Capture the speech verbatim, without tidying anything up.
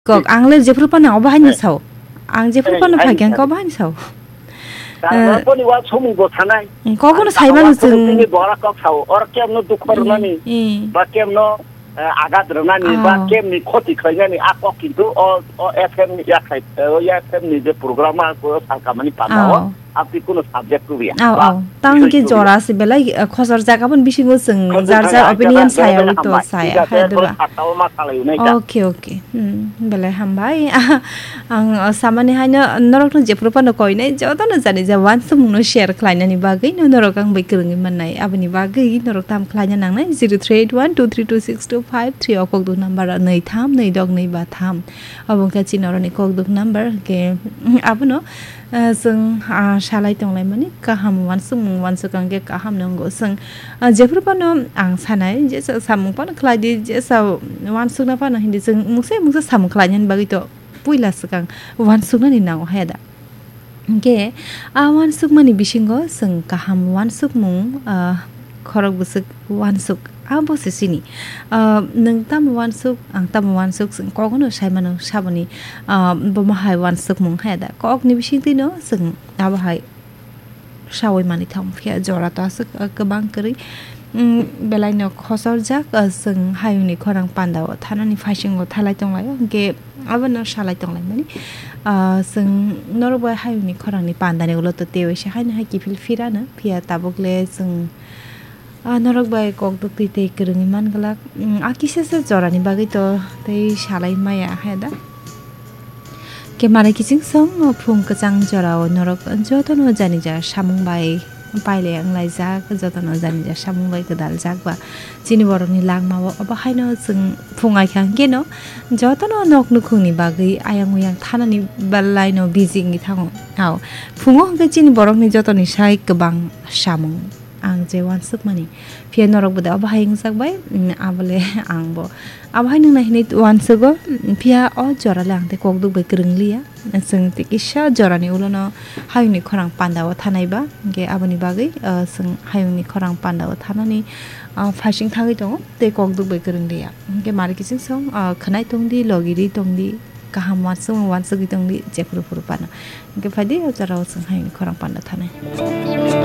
Kok, ang le jephru phano obo haino Eh. sao. Ang jephru Eh, phano haino phai khe ang sao. Kok obo haino sao. Tamo Eh. boni wa sumung bo sanai. Kok no Ang sai mano tamo wa sumung chwng. Tini bora kok sao. Or kem no dukho Eh, rwnani. eh. Ba kem no, eh, agat rwnani. Ba Oh. kem ni khoti khlainani. A kok kintu o, o F M ni ya khai, eh, o F M ni je program a ko salkamani panda o. Oh. Aboni kuno subject rwya. Au, ba, au. Tang bisoi khe rwya. Jora se belai, eh, khosor jaga boni bisingo chwng Khosor jar jar jaga opinion belai saya belai wi to hambai. Saya, Thik ase, hai, bro, deba. Sakta o ma salai unai kha. Okay, okay. Hmm, belai hambai. Ang, oh, samani haino norokno jephru phano koinai, jotono jani ja wansukmungno share khlainani bagwi no norok ang bai kwrwngwi mannai. Aboni bagwi norok tam khlaina nangnai, zero three eight one two three two six two five three o kokduk number nwi tham nwi dok nwi ba tham. Obo wngkha chini oroni kokduk number, hwnkhe, hmm, abono Ah, chwng, ah, salai tonglaimani kaham wansukmung wansuk ang khe kaham nwngo. Chwng, ah, jephru phano ang sanai, jesa samung phano khlai di, jesa wansukna phano hindi chwng mungsa mungsa samung khlainani bagwi to puila swkang wansuknani nango haya da. Hwnkhe, ah, wansukmani bisingo chwng kaham wansukmung, ah, khorok bwswk wansuk, abo se chini. Ah, nwng tamo wansuk, ang tamo wansuk, chwng kogono sai mano saboni, ah, bomo hai wansukmung haya da. Kokni bisingtwino chwng abo hai saui manwi thang phiya jora to aswk, ah, kwbang kwrwi, mm, belaino khosorjak, ah, chwng hayungni khorang pandao thanani phaisingo thalai tonglaio. Hwnkhe abono salai tonglaimani, ah, chwng norok bai hayungni khorangni pandani ulo to tei waisa haino hai kiphil phirano, phiya tabuk le chwng Ah, norok bai kok duk twi tei kwrwngwi man glak. Mm, a kisa se jorani bagwi to tei salai maya hai da. Kemare kiching song, o phung kwchang jorao norok jotono jani ja samung bai pailai wnglaijak, jotono jani ja samung bai gwdaljak ba chini borokni langmao. Obo haino chwng phung ai kha hwnkhe no jotono nok nukhungni bagwi ayang uyang thanani belai no busy wngwi thango. Ao, phungo hwnkhe chini borokni jotoni sai kwbang samung. Ang je wansukmani. Phiya norok bo de obo hai wngjak bai, mm, abo le ang bo. Abo hai nung nai hinui wansugo, mm, phiya o jora le ang tei kok duk bai kwrwng liya. Chwng tei kisa jorani ulo no hayungni khorang panda o thanai ba, hwnkhe aboni bagwi, ah, chwng hayungni khorang panda o thanani, ah, phaising thangwi tongo tei kok duk bai kwrwng liya. Hwnkhe mari kiching song, ah, khwnai tong di, logi ri tong di, kaham wansukmung wansugwi tong di, jephuru phuru phano. Hwnkhe phai di o jora o chwng hayungni khorang panda thanai.